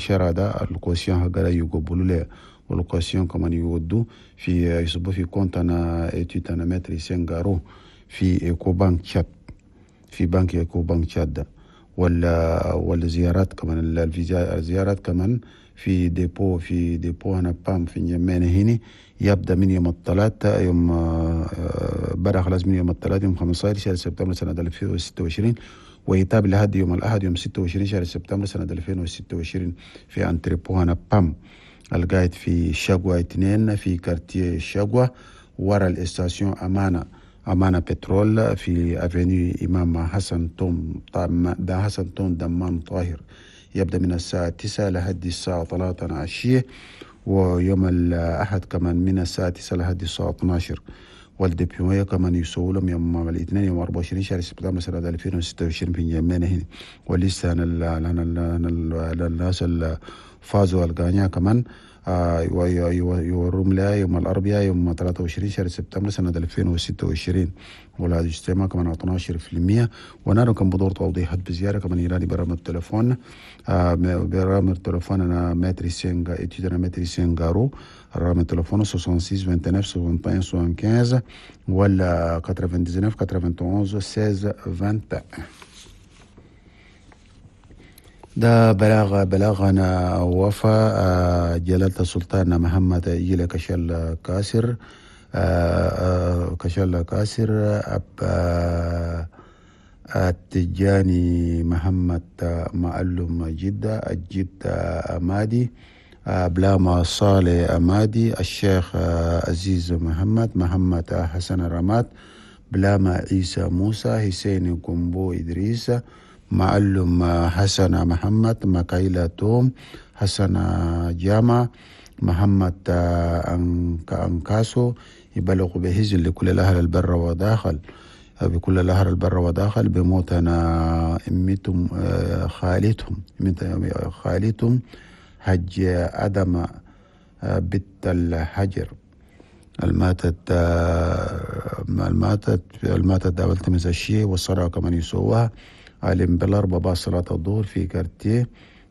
الشارع ده ال caution حقها يقبلوا له، وال caution كمان يودوا في يصبوا في compte هنا étude هنا maître حسين غارو في Ecobank تشاد، في بنك Ecobank تشاد ده. ولا والزيارات كمان، الزيارات كمان في dépôt، في dépôt هنا PAM في نجمينا هنا، يبدا من يوم الثلاثاء، يوم بدا خلاص من يوم الثلاثاء يوم 15 شهر سبتمبر سنة 2026، ويتابع لحد يوم الأحد يوم 26 شهر سبتمبر سنة 2026 في entrepôt هنا PAM القاعد في شقوة 2 في quartier شقوة ورا ال station أمانة، أمانة بترول في avenue إمام حسن توم، ده حسن توم دمان طاهر، يبدأ من الساعة 9 لحد الساعة 3 عشية، ويوم الأحد كمان من الساعة 9 لحد الساعة 12. وال dépouillement كمان يسووا لهم يوم الاثنين يوم 24 شهر سبتمبر سنة 2026 في نجمينا هنا. ولسه الناس اللي فازوا الغانيا كمان يوروم لها يوم الأربعاء يوم 23 شهر سبتمبر سنة 2026. ولا اجتماع كمان 12%. ونارو كان بدور توضيحات بزيارة كمان يراني برامج التليفون، برامج التليفون أنا maître سينغا étude أنا maître سينغارو، رقم التليفون 66 29 61 75 ولا 99 91 16 21. ده بلاغنا وفاء جلالة السلطان محمد إجل كشل كاسر، كشل كاسر أب التجاني محمد معلم جدة الجد أمادي، بلاما صالح أمادي، الشيخ عزيز محمد، محمد حسن رماد، بلاما عيسى موسى، حسين قنبو إدريس، معلم حسن محمد، مكايلة توم، حسن جامع، محمد أنكاسو، يبلغ بهزن لكل الأهل البر وداخل، بكل الأهل البر وداخل بموتنا أمتهم خالتهم، خالتهم حج أدم بنت الحجر الماتت، الماتت أول الشيء والصلاة كمان يسووها علم بالأربعة بعد صلاة الظهر في كارتيه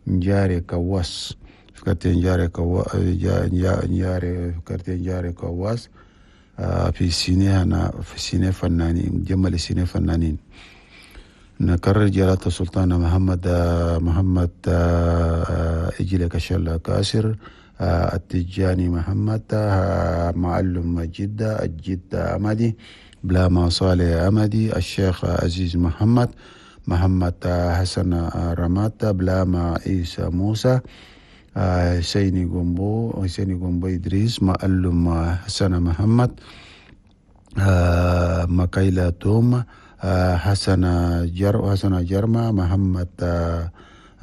نجاري كواس، في كارتيه نجاري كوا، نجاري، في كارتيه نجاري كواس، في سيني هنا، في سيني فنانين، جمل سيني فنانين. نكرر جلالة السلطان محمد، محمد، إجل كشل كاسر، التجاني محمد، معلم جدة الجد أمدي، بلاما صالح أمدي، الشيخ عزيز محمد، محمد حسن رمات، بلاما عيسى موسى، حسيني قنبو، حسيني قنبو إدريس، معلم حسن محمد، مكايلة توم، حسن جر، حسن جرمة، محمد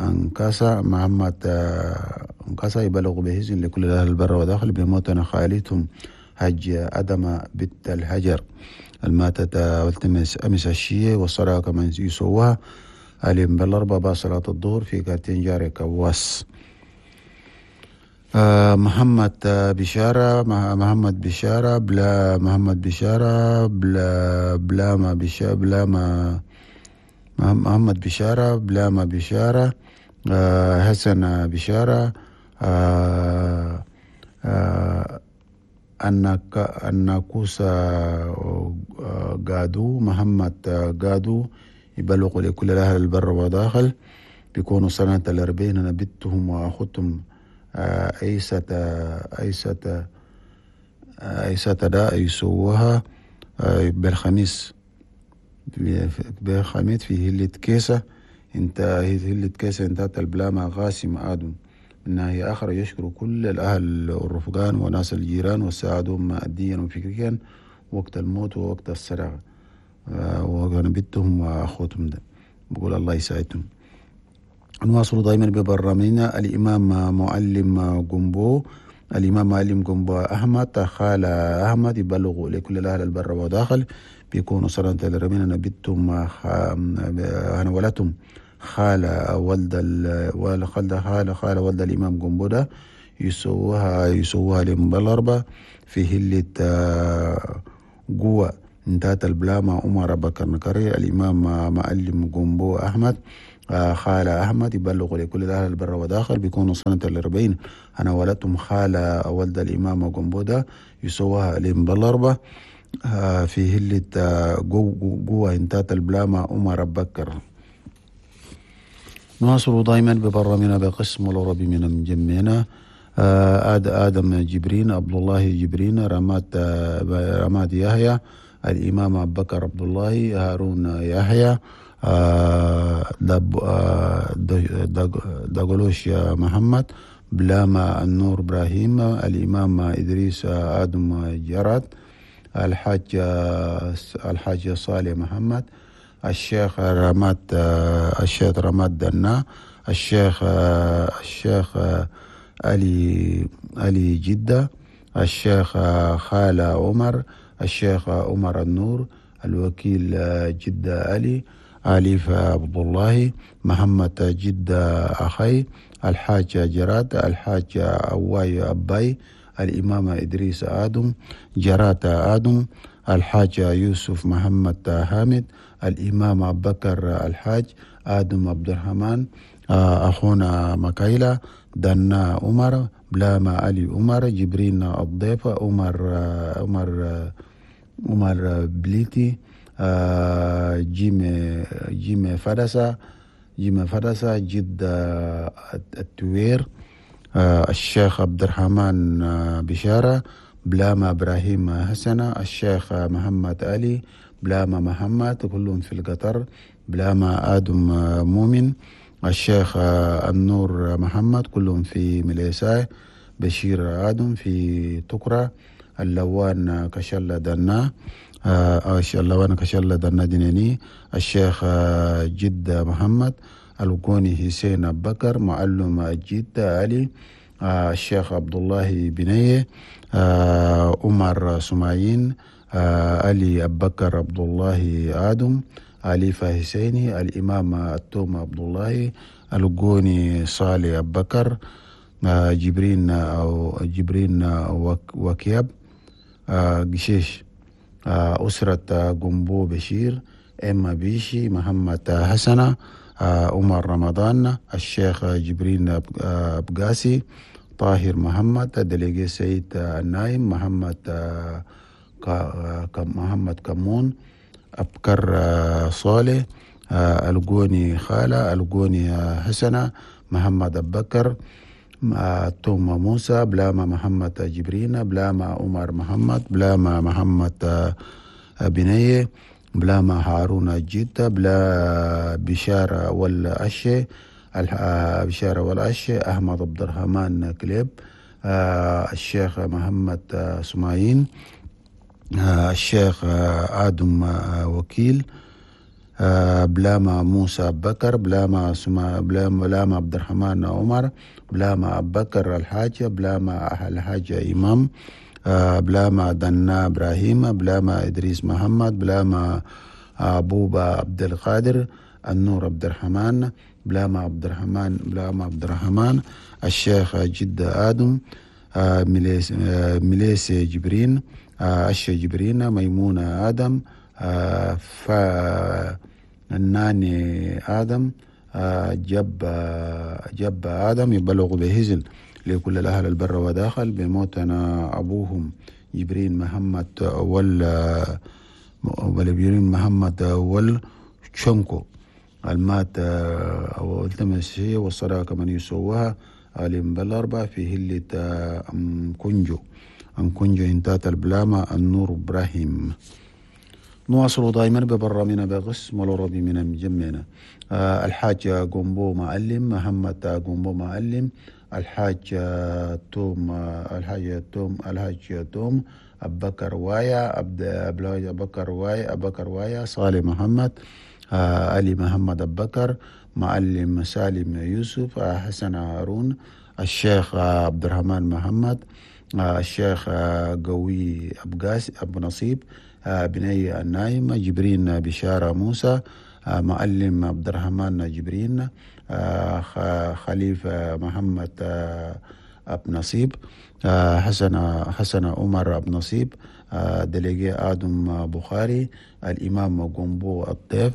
أنكاسا، محمد أنكاسا، يبلغ بهزن لكل أهل البر وداخل بموتنا خالتهم حج أدم بنت الحجر الماتت والتمس أمس الشيء والصلاة كمان يسووها اليوم بالأربعة بعد صلاة الظهر في كارتين جاري كواس. محمد بشارة، محمد بشارة، بلا محمد بشارة، بلا بلا ما بشارة، بلا ما محمد بشارة، بلا ما بشارة، حسن بشارة، الناكوسا قادو، محمد قادو، يبلغ لكل الأهل البر وداخل بيكونوا سنة الأربعين أنا بنتهم وأخوتهم، عيسى عيسى عيسى دا يسووها، بالخميس، بالخميس في هلة كيسة، انت هلة كيسة انتهت البلامة غاسم آدم. من ناحية أخرى يشكر كل الأهل والرفقان وناس الجيران وساعدوهم ماديا وفكريا وقت الموت ووقت السرقة، وكان بنتهم وأخوتهم ده بقول الله يساعدهم. نواصل دائما ببرنامجنا. الإمام معلم قنبو، الإمام معلم قنبو أحمد خال أحمد يبلغ لكل الأهل البر وداخل بيكونوا سنة الرمين بنتهم أنا ولدتهم خال ولد خال خال خال ولد الإمام قنبو ده يسووها لهم بالأربعة في هلة قوة انتهت البلامة عمر بكر نكري. الإمام معلم قنبو أحمد خالة أحمد يبلغوا لكل الأهل البر وداخل بيكونوا سنة 40. أنا ولدتهم خالة ولد الإمام قنبودة يسوها لهم بالأربعة في هلة جوا انتات البلامة عمر بكر. نواصل دائما ببرامنا بقسم العربي من مجمعنا. آدم جبرين، عبد الله جبرين، رماد يحيى، الإمام أبو بكر عبد الله، هارون يحيى، دغلوش محمد، بلاما النور إبراهيم، الإمام إدريس آدم جراد، الحاج صالح محمد، الشيخ رماد دنا، الشيخ علي جدة، الشيخ خالة عمر، الشيخ عمر النور، الوكيل جدة علي، أليف عبد الله، محمد جدة أخي، الحاج جراد، الحاج أواي أباي، الإمام إدريس آدم، جراد آدم، الحاج يوسف محمد حامد، الإمام أبو بكر الحاج آدم عبد الرحمن، أخونا مكايلة، دنا عمر، بلاما علي عمر، جبرين الضيف، عمر بليتي، جيم فدسة، جد التوير، الشيخ عبد الرحمن بشارة، بلاما إبراهيم حسنة، الشيخ محمد علي، بلاما محمد، كلهم في القطر، بلاما آدم مؤمن، الشيخ النور محمد، كلهم في مليساي، بشير آدم في تكرة، اللوان كشلة دنا، اللوان كشلة دنا ديناني، الشيخ جد محمد، القوني حسين بكر، معلم جد علي، الشيخ عبد الله بنيه، عمر سمايين، علي أبكر عبد الله آدم، علي حسيني، الإمام التوم عبد الله، القوني صالح أبكر، جبرين أو جبرين وكياب، قشيش، أسرة قنبو بشير، إما بيشي، محمد حسنة، عمر رمضان، الشيخ جبرين بقاسي، طاهر محمد، دليجي سيد النايم، محمد كمون، أبكر صالح، القوني خالة، القوني حسنة، محمد أبكر، توم موسى، بلاما محمد جبرين، بلاما عمر محمد، بلاما محمد بنية، بلاما هارون جدة، بلا بشارة والأشي، بشارة والأشي، أحمد عبد الرحمن كليب، الشيخ محمد سمايين، الشيخ آدم وكيل، بلاما موسى بكر، بلاما بلاما عبد الرحمن عمر، بلاما بكر الحاج، بلاما الحاج إمام، بلاما دنا إبراهيم، بلاما إدريس محمد، بلاما بوبا عبد القادر، النور عبد الرحمن، بلاما عبد الرحمن، بلاما عبد الرحمن، الشيخ جدة آدم، مليس جبرين، أشي جبرين، ميمونة آدم، فناني آدم، جب آدم. يبلغ بهزن لكل الأهل البر وداخل بموتنا أبوهم جبرين محمد والجبرين محمد والشنكو المات أو التمس هي والصداقة من يسوها علم بالأربعة في هلة أم كنجو انتات البلامة النور إبراهيم. نواصل دائما ببرامنا بغس ملوربي من مجمعنا. الحاج قنبو معلم، محمد قنبو معلم، الحاج توم، الحاج توم، أبكر وايا، أبكر وايا، صالح محمد، علي محمد أبكر، معلم سالم يوسف، حسن هارون، الشيخ عبد الرحمن محمد، الشيخ قوي أبقاس أبو نصيب، بني النايم، جبرين بشارة موسى، معلم عبد الرحمن جبرين، خليفة محمد أب نصيب، حسن عمر أب نصيب، délégué آدم بخاري، الإمام قنبو الضيف،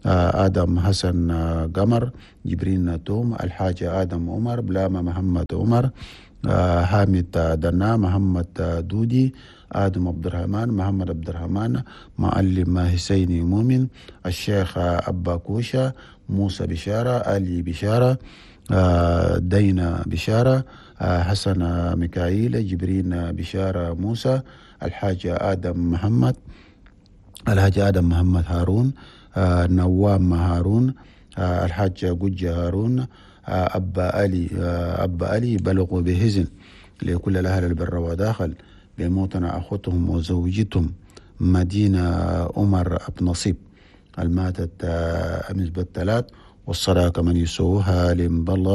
آدم حسن قمر، جبرين توم، الحاج آدم عمر، بلاما محمد عمر، حامد دنا، محمد دودي، آدم عبد الرحمن، محمد عبد الرحمن، معلم حسيني مؤمن، الشيخ أبا كوشة، موسى بشارة، علي بشارة، دينا بشارة، حسن ميكائيل، جبرين بشارة موسى، الحاج آدم محمد، الحاج آدم محمد هارون، نوام هارون، الحاج جوجة هارون، أبا علي، أبا علي بلغوا بهزن لكل الأهل البر وداخل بموتنا أخوتهم وزوجتهم مدينة عمر أب نصيب الماتت أمس بالثلاث، والصلاة كمان يسووها لمبل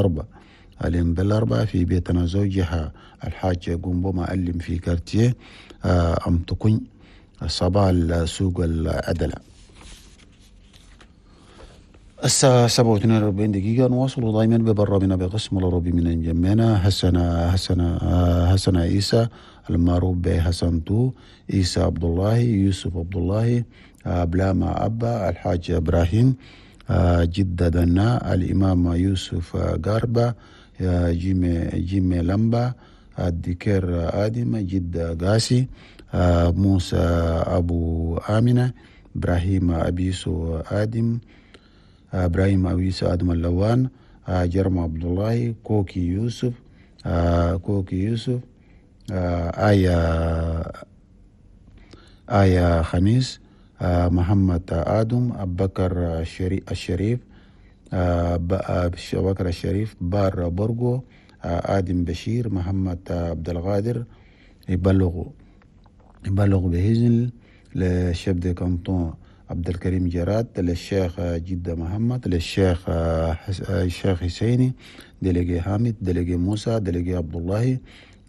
أربعة في بيتنا زوجها الحاج قنبو معلم في quartier أم تكون صباح سوق العدلة. الساعة 7:42، نواصل دائما ببرنامجنا بقسم العربي من انجمينا. حسن عيسى المعروف بحسن تو، عيسى عبد الله، يوسف عبد الله، بلاما أبا، الحاج إبراهيم، جدة دنا، الإمام يوسف غاربة، جيمي لمبا، الدكير آدم، جدة قاسي، موسى أبو آمنة، إبراهيم أبيسو آدم، إبراهيم أبيسو آدم اللوان، جرم عبد الله، كوكي يوسف، كوكي يوسف، آية خميس، محمد آدم، أبو بكر الشريف، أبو بكر الشريف، بار برجو، آدم بشير، محمد عبد القادر. يبلغ بهزن ل chef de canton عبد الكريم جراد، للشيخ جدة محمد، للشيخ الشيخ حسيني، délégué حامد، délégué موسى، délégué عبد الله،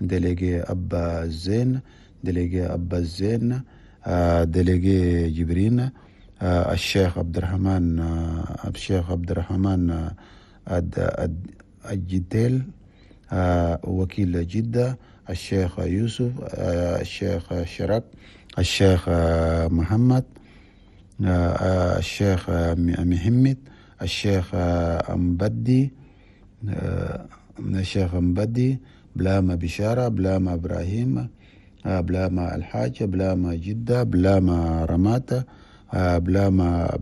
délégué أبا الزين، délégué أبا الزين، délégué جبرين، الشيخ عبد الرحمن، الشيخ عبد الرحمن الجديل، وكيل جدة، الشيخ يوسف، الشيخ شرك، الشيخ محمد، الشيخ محمد، الشيخ أمبدي، الشيخ أمبدي، بلاما بشارة، بلاما إبراهيم، بلاما الحاج، بلاما جدة، بلاما رماتة، بلاما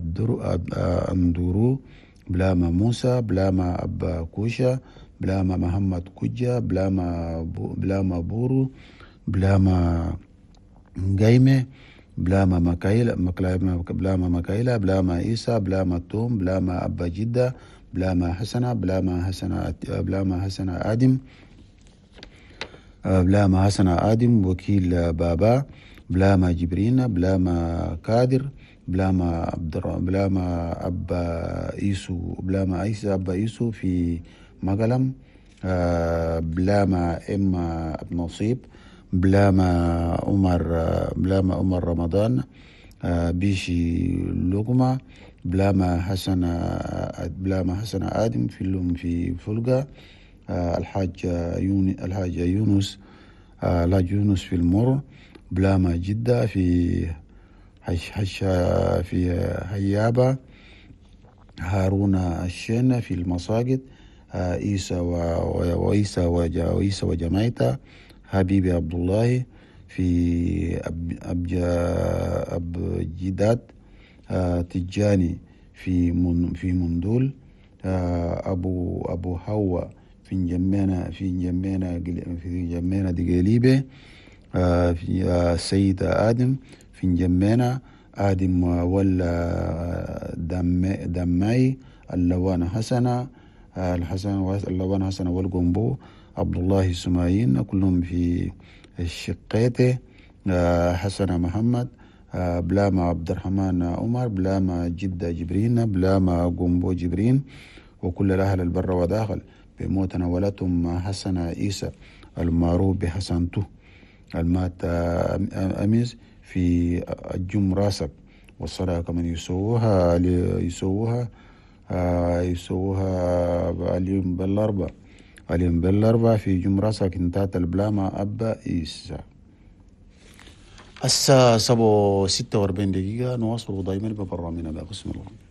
أندورو، بلاما موسى، بلاما أبا كوشة، بلاما محمد كوجة، بلاما بورو، بلاما قايمة، بلاما مكايلة، بلاما مكايلة، بلاما عيسى، بلاما توم، بلاما أبا جدة، بلاما حسنة، بلاما حسنة، بلاما حسنة آدم، بلاما حسنة آدم وكيل بابا، بلاما جبرين، بلاما كادر، بلاما أبا إيسو، بلاما عيسى أبا إيسو في مقلم، بلاما إما أب نصيب، بلاما عمر، بلاما عمر رمضان، بيشي لقمة، بلاما حسن، بلاما حسن آدم في اللوم في فلقة، الحاج يونس، الحاج يونس في المر، بلاما جدة في حش حش في هيابة، هارون الشين في المساجد، عيسى وعيسى وعيسى وجماعته، حبيبي عبد الله في أب جداد، تجاني في مندول، أبو هوا في جمينة دقيليبة، في سيد آدم في جمينة آدم ولا دماي اللوان حسنة، الحسن اللوان حسنة والقنبو عبد الله السمايين كلهم في الشقيتة، حسن محمد، بلاما عبد الرحمن عمر، بلاما جدة جبرين، بلاما قنبو جبرين، وكل الأهل البر وداخل بموتنا ولتم حسن عيسى المعروف بحسن تو المات أمس في الجم راسك، والصلاة كمان يسووها يسووها اليوم بالأربع. اليوم بالأربعة في جمرة ساكن تحت البلامة أبا إيسا. الساعة 7:46 نواصل دائما ببرنامجنا بقسم الغنم.